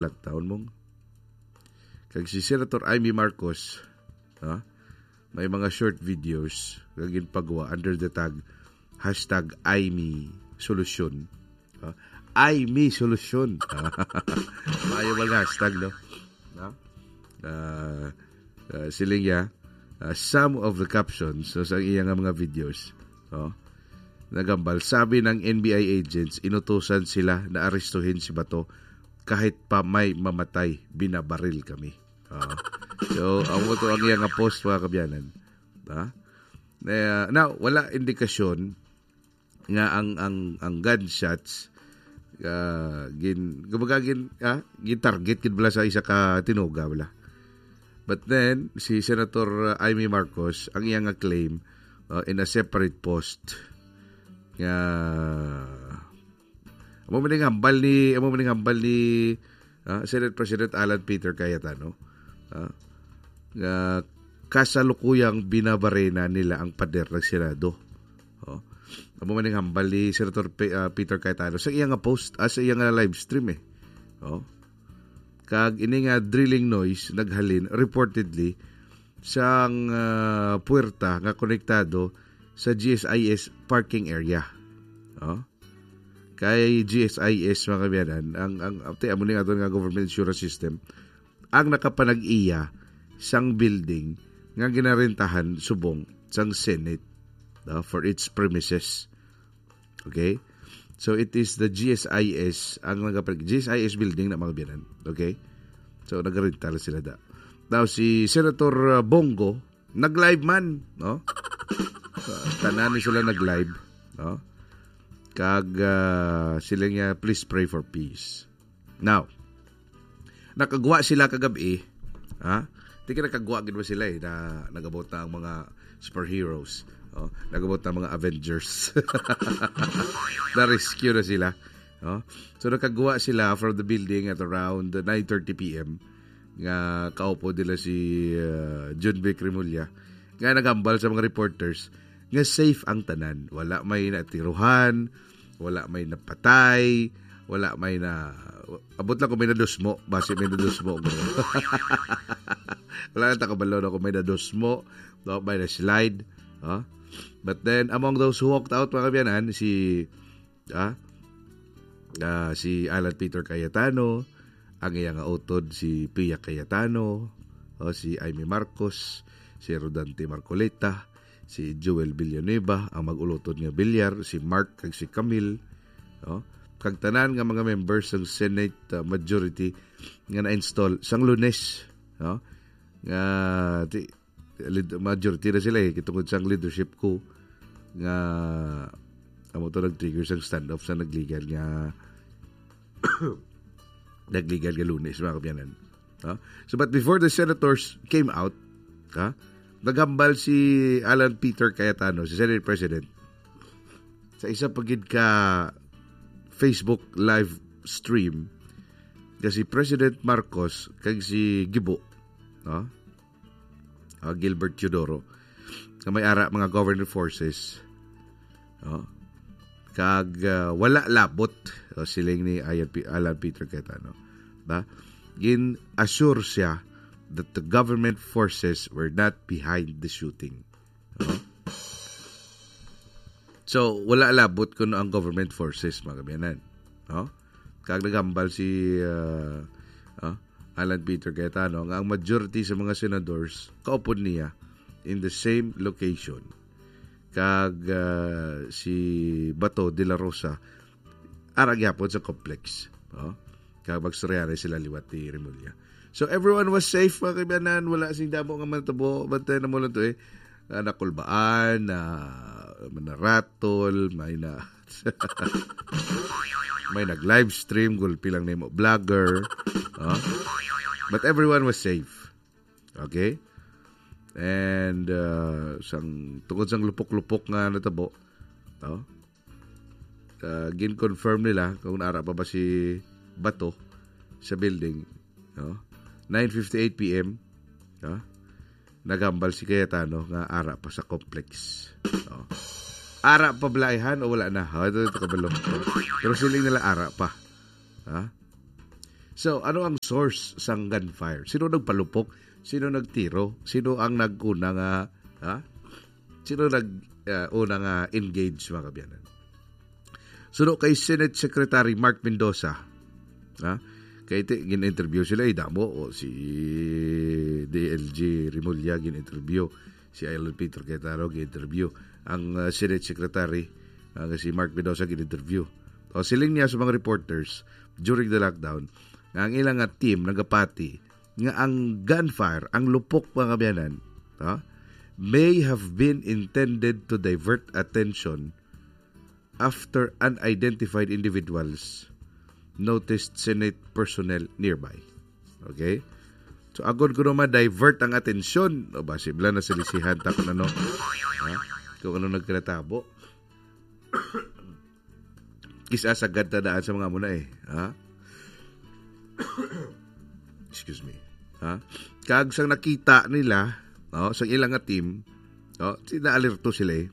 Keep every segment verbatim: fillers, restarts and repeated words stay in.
Lagtaon mong. Kag si Senator Imee Marcos, ha? May mga short videos nga ginpagawa under the tag hashtag Imee Solusyon. Ha? Imee Solusyon. Maayo ba nga hashtag, no? Ha? Ah, ah, siling niya, ah, some of the captions, so, sa iya nga mga videos, oh, nagambal, sabi ng N B I agents, inutusan sila na arestuhin si Bato kahit pa may mamatay, binabaril kami. Ah. So, amo to ang iya nga post, mga kabyanan. Ah? Na, na, wala indikasyon nga ang, ang, ang gunshots, ah, gin-, kumbaga, gin-, ah, gin-target gid bala sa isa ka tinuga bala. But then, si Senator, ah, Imee Marcos, ang iya nga claim, ah, in a separate post, nga amo man ang hambal ni, amo man ang hambal ni, ah, Senate President Alan Peter Cayetano, ah, nga kasalukuyang binabarena nila ang pader ng Senado. Oh. Amo man ang hambal ni Senator Pe-, ah, Peter Cayetano sa iya nga post, ah, sa iya nga live stream, eh. Oh. Kag ini nga drilling noise naghalin reportedly sang, ah, puwerta nga konektado sa G S I S parking area. Oh. Kay G S I S, mga kabyanan, ang, ang, ate, amo ni aton nga government insurance system, ang nakapanag-iya sang building nga ginarentahan subong sang Senate, ah, for its premises. Okay? So, it is the G S I S ang nagapag-, G S I S building na, mga kabyanan. Okay? So, nagarenta na sila da. Now, si Senator, uh, Bong Go, nag-live man, no? Uh, tanan ni sila nag-live, no? Kag, uh, sila niya, "Please pray for peace." Now, nakagwa sila kagabi, ha? Di ka nakagwa gid ba sila, eh, na nagabot na ang mga superheroes. Oh, nagabot na ang mga Avengers. Na-rescue na sila. Oh. So, nakagwa sila from the building at around nine thirty P M nga kaupo nila si, uh, John Vic Remulla, nga nagambal sa mga reporters nga safe ang tanan. Wala may natiruhan, wala may napatay, wala may na, abot lang kung may nadusmo, basi may nadusmo. Wala lang ta kabalo, no, kung may nadusmo, no, may na-slide, no? But then, among those who walked out, mga kabyanan, si, ah, ah, si Alan Peter Cayetano, ang iya nga utod si Pia Cayetano, o si Imee Marcos, si Rodante Marcoleta, si Joel Villanueva, ang mag-ulotod nga Villar, si Mark kag si Camille, no? Kag tanan nga mga members sang Senate, uh, majority nga na-install sang Lunes, no? Nga ti-, lid-, majority na sila, eh, tungod sang leadership coup nga amo to nag-trigger sang standoff sa nagligal nga nagligal nga Lunes, mga kabyanan. Ha? So, but before the senators came out, ha, nagambal si Alan Peter Cayetano, si Senate President, sa isa pa gid ka Facebook live stream nga si President Marcos kag si Gibo, no? Ah, Gilbert Teodoro, nga may ara mga government forces, no? Kag, ah, wala labot, o, siling ni Ayan Pi-, Alan Peter Cayetano. Ba? Gin-assure siya that the government forces were not behind the shooting. No? So, wala labot kuno ang government forces, mga kabyanan. No? Kag nagambal si, ah, ah, Alan Peter Cayetano nga ang majority sa mga senadors kaupod niya in the same location. Kag, ah, si Bato de la Rosa, ara gyapon sa complex. Oh? Kag magstoryahanay sila liwat ni Remulla. So, everyone was safe, mga kaibanan. Wala sing damo nga matabo. Bantayan na mo lang to, eh. Ah, nakulbaan, na manaratol, may na, may nag-livestream, gulpi lang nimo vlogger. Oh? But everyone was safe. Okay? And, uh, sang, tungod sang lupok-lupok nga natabo, no? Uh, gin-confirm nila kung naara pa ba si Bato sa building, no? Nine fifty-eight P M, no? Nagambal si Cayetano nga ara pa sa complex. No? Ara pa bala, ayhan, o wala na? Ha, ito, ito kabalo. Pero siling nila ara pa. Ha? So, ano ang source sang gunfire? Sino nagpalupok? Sino nagtiro? Sino ang naguna nga, ha? Sino nag, ah, una nga engage, mga kaabyanan? Suno kay Senate Secretary Mark Mendoza, ha? Kay ti-, gin-interview sila, eh, damo, o si D L G Remulla gin-interview, si Alan Peter Cayetano gin-interview, ang, ah, Senate Secretary, ah, nga si Mark Mendoza gin-interview. O, siling niya sa mga reporters during the lockdown nga ang ilang nga team nagapati nga ang gunfire, ang lupok, mga kaabyanan, ha, may have been intended to divert attention after unidentified individuals noticed Senate personnel nearby. Okay? So, agod kuno ma-divert ang atensyon, o ba, sibla na silisihan ta kung ano, ha? Kung ano nagkatabo. Kis-a sagad ta daan sa mga muna eh, ha? Excuse me. Ha? Kag sang nakita nila, no, sang ilang nga team, no, si-, naalerto sila eh.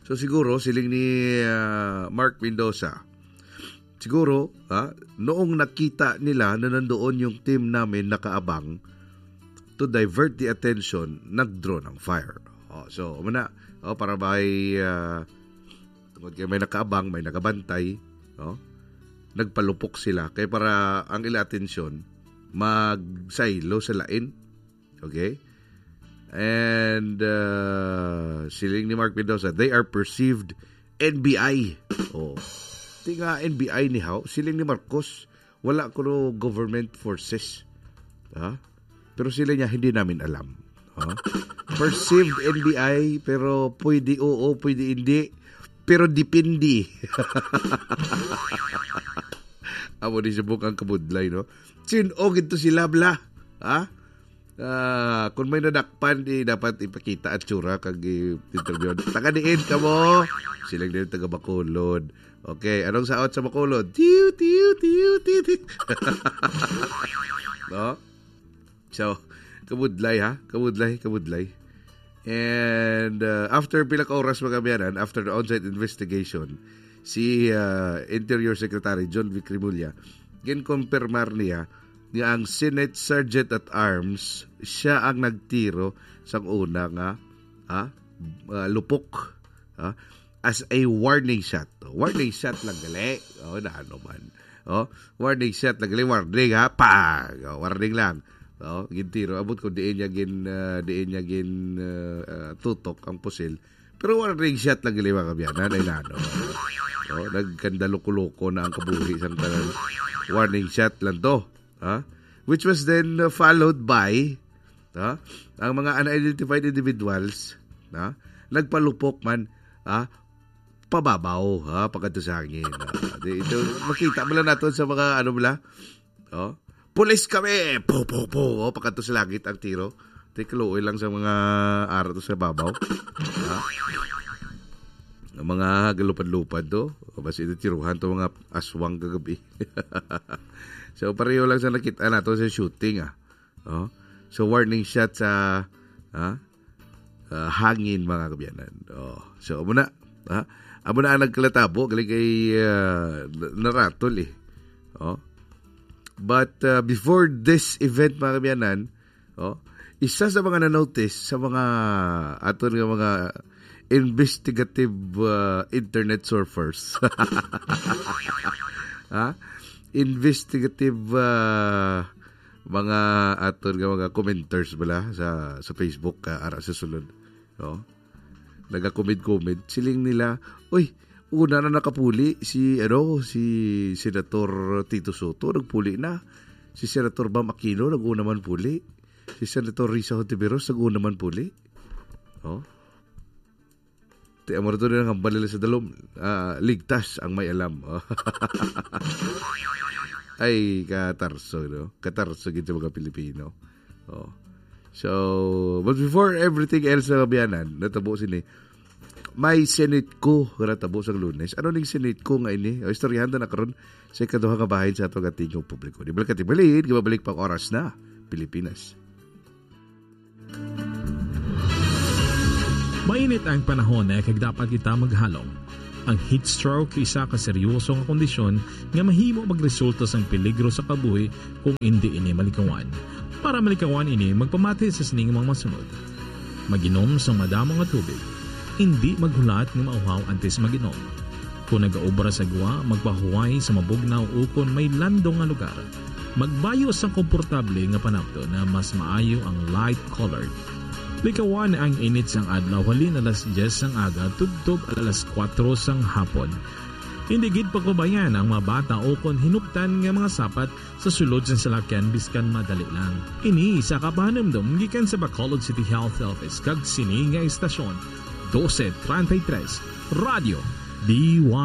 So siguro, siling ni, ah, Mark Mendoza, siguro, ha, noong nakita nila na nandoon yung team namin nakaabang to divert the attention, nag-draw ng fire. Oh, so, muna, oh, para may, ah, tungod kay may nakaabang, may nagabantay, no? Nagpalupok sila. Kay para ang ila atensyon, magsaylo sa lain. Okay? And, uh, siling ni Mark Mendoza, they are perceived N B I. Oh. Ti nga N B I ni haw, siling ni Marcos, wala kuno government forces. Ha? Pero sila niya, hindi namin alam. Ha? Perceived N B I, pero pwede oo, pwede hindi. Pero depende. Amo ni subok ang kabudlay, no? Sin-o gid to sila, bla. Ha? Ah, kung may nadakpan, di dapat ipakita at tsura kag i-interview. Taga diin ka mo? Sila din taga Bacolod. Okay, anong saot sa Bacolod? Tiyo, tiyo, tiyo, tiyo, tiyo. No? So, kabudlay ha? Kabudlay, kabudlay. And uh, after pila ka oras, mga kaabyanan, after the on-site investigation, si uh, Interior Secretary John Vic Remulla, ginkonfirmar niya nga ang Senate Sergeant at Arms, siya ang nagtiro sang una nga, ha? Uh, lupok, ha? As a warning shot. Warning shot lang gali. Oh, na ano man. Oh, warning shot lang gali, warning ha. Pag, oh, warning lang. Oh, gintiro abot ko diin niya gin uh, diin niya gin uh, uh, tutok ang pusil. Pero warning shot lang gali, mga kaabyanan, ay nano. Oh, nagkandaluko-luko na ang kabuhi sang tanan. Warning shot lang to. Ha? Which was then uh, followed by, ha? Ang mga unidentified individuals, ha? Nagpalupok man, ha? Pababaw, ha? Pagkadto sa hangin. Ha? Di, ito, makita mo lang nato sa mga, ano mo lang? Oh? Pulis kami! Po, po, po! Oh, pagkadto sa langit ang tiro. Di kaluoy lang sa mga araw to sa babaw. Ha? Ang mga galupad-lupad to. O, basi ito tiruhan to mga aswang kagabi. So, pareho lang sa nakita nato sa shooting, ah. Oh. So, warning shot sa, ah, ah, hangin, mga kaabyanan. Oh. So, amo na, ha? Amo na ang nagkalatabo, galing kay, ah, naratol eh. Oh. But, ah, before this event, mga kaabyanan, oh, isa sa mga na-notice sa mga aton nga mga investigative, ah, internet surfers. Ha? Investigative, ah, mga aton nga mga commenters bala sa, sa Facebook, ah, ara sa sulod. No? Naga-comment-comment. Siling nila, "Uy, una na nakapuli si, ano, si Senator Tito Soto, nagpuli na. Si Senator Bam Aquino, nag-una man puli. Si Senator Risa Hontiveros, nag-una man puli." Oh? Ti amo ra to din ang hambal nila sa dalom. Ah, ligtas ang may alam. Ay, katarso, no? Katarso gid sa mga Pilipino. Oh. So, but before everything else, mga kaabyanan, natabo sini, may Senate coup nga natabo sa Lunes. Ano ning Senate coup nga ini? O, istoryahan ta na karon sa ikaduha nga bahin sa ato nga tingog publiko. Di balik ka, di balik, di balik pa ang oras na Pilipinas. Mainit ang panahon, eh, kag dapat kita maghalong. Ang heat stroke isa ka seryoso nga kondisyon nga mahimo magresulta sang peligro sa kabuhi kung indi ini malikawan. Para malikawan ini, magpamati sa sining mga masunod. Mag-inom sang madamo nga tubig. Indi maghulat nga mauhaw antes mag-inom. Kung nagaobra sa gwa, magpahuway sa mabugnaw ukon may landong nga lugar. Magbayo sang komportable nga panapton na mas maayo ang light colored. Likawan ang init sang adlaw halin alas diyes sang aga tubtob alas kuwatro sang hapon. Hindi gid pagpabayan ang mga bata ukon hinuptan nga mga sapat sa sulod sang salakyan biskan madali lang. Ini isa ka pahanumdom gikan sa Bacolod City Health Office kag sini nga istasyon, dose treinta y tres, Radyo D Y.